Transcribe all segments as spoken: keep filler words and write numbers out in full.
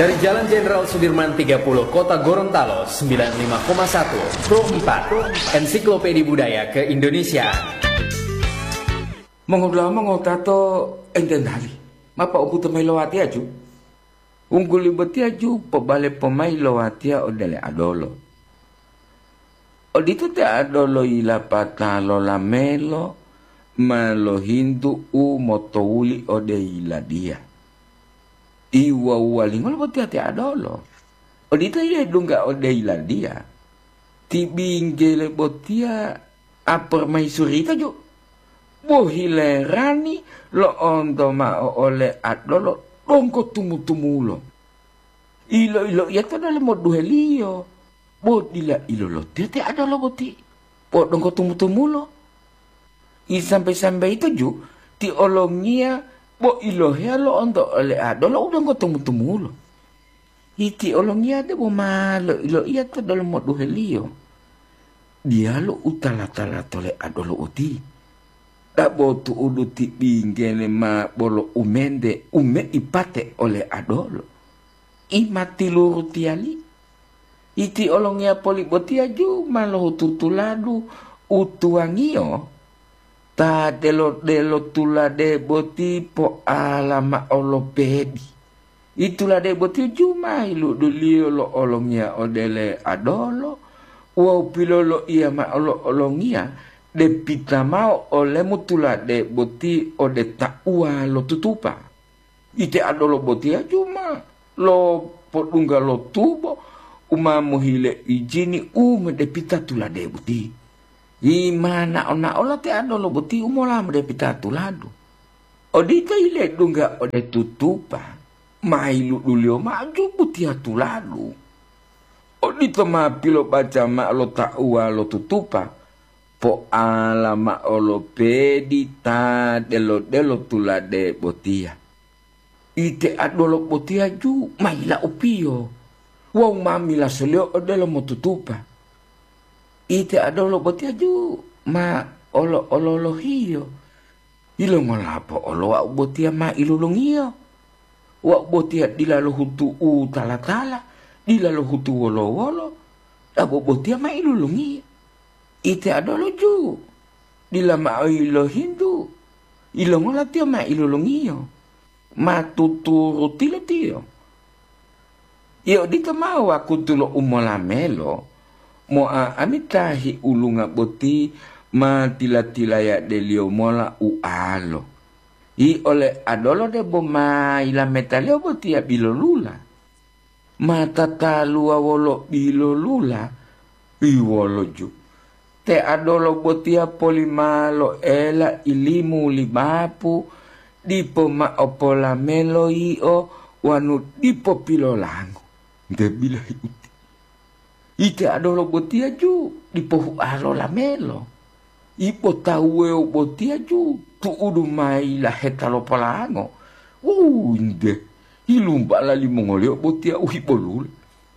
Dari Jalan Jenderal Sudirman tiga puluh, Kota Gorontalo, sembilan lima koma satu, Pro empat, Ensiklopedia Budaya Keindonesiaan. Mongodula'a mongotato enten hali, mapa umbuto mayi lo watiya ju? Wungguli botiya ju pobale pomai lo watiya ode le adolo. Odito te adolo yilapata lo lamelo ma lohintu u motowuli ode yiladiya. Iwuwa-wuwalingolo botiya te adolo? Odito yilai dungga ode yiladiya. Ti binggele botiya apermaisurita ju. Bo hilerani lo'onto mao ole adolo donggo tumu-tumulo. Ilo-iloiya to delomo duheliyo, bo dila ilolotiya te adolo boti, bo donggo tumu-tumulo. Isambe-sambe yito ju ti olongiya bo iloheya lo'onto ole adolo u donggo tumu-tumulo. Iti olongiya debo ma loiloiya to delomo duheliyo, diyalu u tala-tala tole adolo oti. Dabo tu'udu ti binggele ma bolo umente u meipate ole adolo. I ma tilurutiyali. Iti olongiya poli botiya ju ma lohutu tuladu u tuwangiyo, ta delo-delo tulade boti po'ala mao lo pedi. I tulade boti ju ma yiluduliyo lo olongiya ode le adolo wawu piloloiya mao lo olongiya, depita mao olemu tulade boti ode tauwa lo tutupa. Ite adolo botiya ju ma lopodungga lo tubo u ma mohile ijini u medepita tulade boti. Yi ma nao-naola te adolo boti u mola medepita tuladu. Odito yi ledungga ode tutupa, ma yiluduliyo mao ju botiya tuladu. Odito ma pilobaca mao lo tauwa lo tutupa, po'ala mao lo pedi ta delo-delo tulade botiya. Ite adolo botiya ju ma yila'upiyo wawu ma milasoliyo odelo motutupa. Ite adolo botiya ju ma olo-ololohiyo. Yilongola po'olo wau botiya ma ilolongiyo? Wau botiya dila lohutu u tala-tala, dila lohutu wolo-wolo, dabo botiya ma ilolongiyo. Ite adolo ju, dila mao yilohintu, yilongola tiyo ma ilolongiyo? Ma tuturutilo tiyo. Iyo odito mao wakutu lo umolamelo, mo'a'ami ta hiulunga boti ma tila-tilayadeliyo mola ualo. Yi ole adolo debo ma yilametaliyo botiya bilolula. Ma tataluwa wolo bilolula, yi wolo ju. Te adolo botiya polima lo ela ilimu li bapu, dipo mao polamelo yio wanu dipo pilolango. Nte bilahi uti. Ite adolo botiya ju dipo hualo lamelo. Ipo tawu wuwewo botiya ju tu'udu mayi laheta lo polango. Wuwu, nte, hilumbala limongoliyo botiya u hibolula.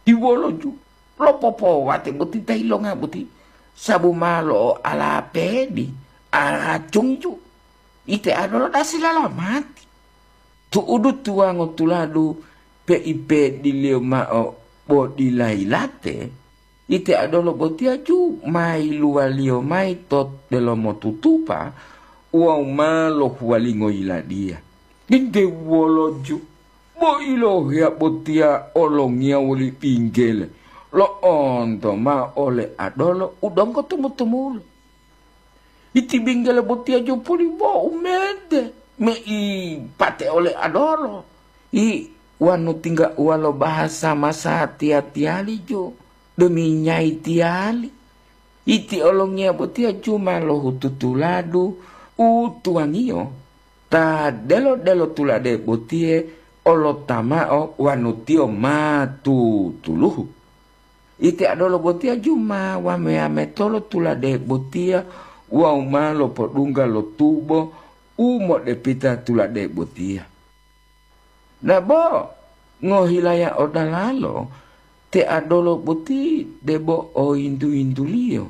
Iwolo ju, lopopowate boti ta yilonga boti, sabu ma lo'oala pedi, aracungi ju. Ite adolo dasi lalamati. Tu'udu tuwango tuladu peipe diliyo mao bo dila yilate, ite adolo botiya ju ma yiluwaliyo mayi to delomo tutupa wawu ma lohuwalingo yiladiya. Inde wolo ju, bo ilohiya botiya olongiya woli binggele lo'onto mao ole adolo u donggo tumu-tumulo. Iti binggele botiya ju poli bo umente mei pate ole adolo. I wanu tingga uwalo bahasa masatiya-tiyali ju, demi nyayi tiyali. Iti olongiya botiya ju ma lohutu tuladu u tuwangiyo, ta delo-delo tulade botiye olota mao wanu tiyo ma tutuluhu. Ite adolo botiya ju ma wame-yametolo tulade botiya wawu ma lopodungga lo tubo u modepita tulade botiya. Dabo ngohilaya odalalo te adolo boti debo oyintu-yintuliyo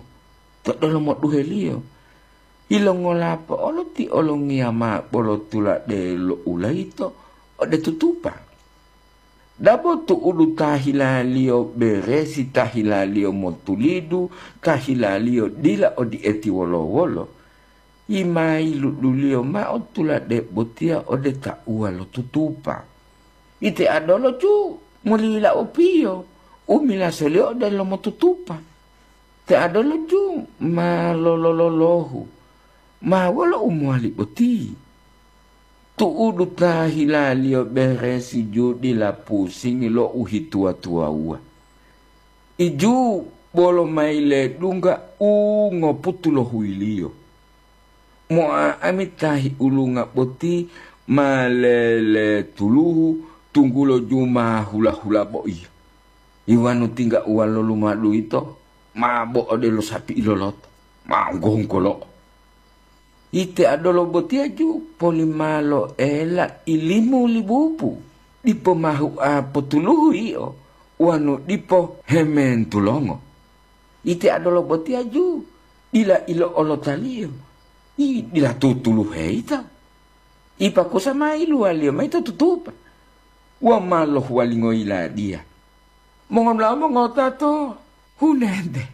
to delomo duheliyo. Yilongola po'olo ti olongiya ma bolo tulade lo ulayito ode tutupa? Dabo tu'udu ta hilaliyo beresi, ta hilaliyo motulidu, ta hilaliyo dila odi'eti wolo-wolo, yimayiluduliyo mao tulade botiya ode tauwa lo tutupa. Ite adolo ju molila opiyo, u milasoliyo ode lomotutupa. Te adolo ju ma lolololohu, ma wolo u mowali boti? Tu'udu ta hilaliyo beresi ju dila pusingi lo uhituwa-tuwawuwa. Iju bolo mayi ledungga u ngoputu lo huyiliyo. Mo'o'ami ta hiulunga boti ma leletuluhu, tunggulo ju ma hula-hula boiya. Iwanu tingga uwalo lumadu yito ma bo odelo sapi iloloto, ma onggo-onggolo'o. Ite adolo botiya ju polimalo ela ilimu li bubu, dipo mahu'a potuluhu yio, wanu dipo hementulongo. Ite adolo botiya ju dila ilo'olotaliyo, i dila tutuluhe yito. Ipakusa ma iluwaliyo mayi to tutupa, wa ma lohuwalingo yiladiya. Mongola mongotato, hunente,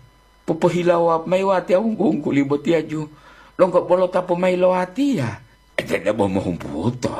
popohilawa mayi watiya wunggu-wungguli botiya ju, donggo bolo ta pomai lo watiya, ete debo mohumputo.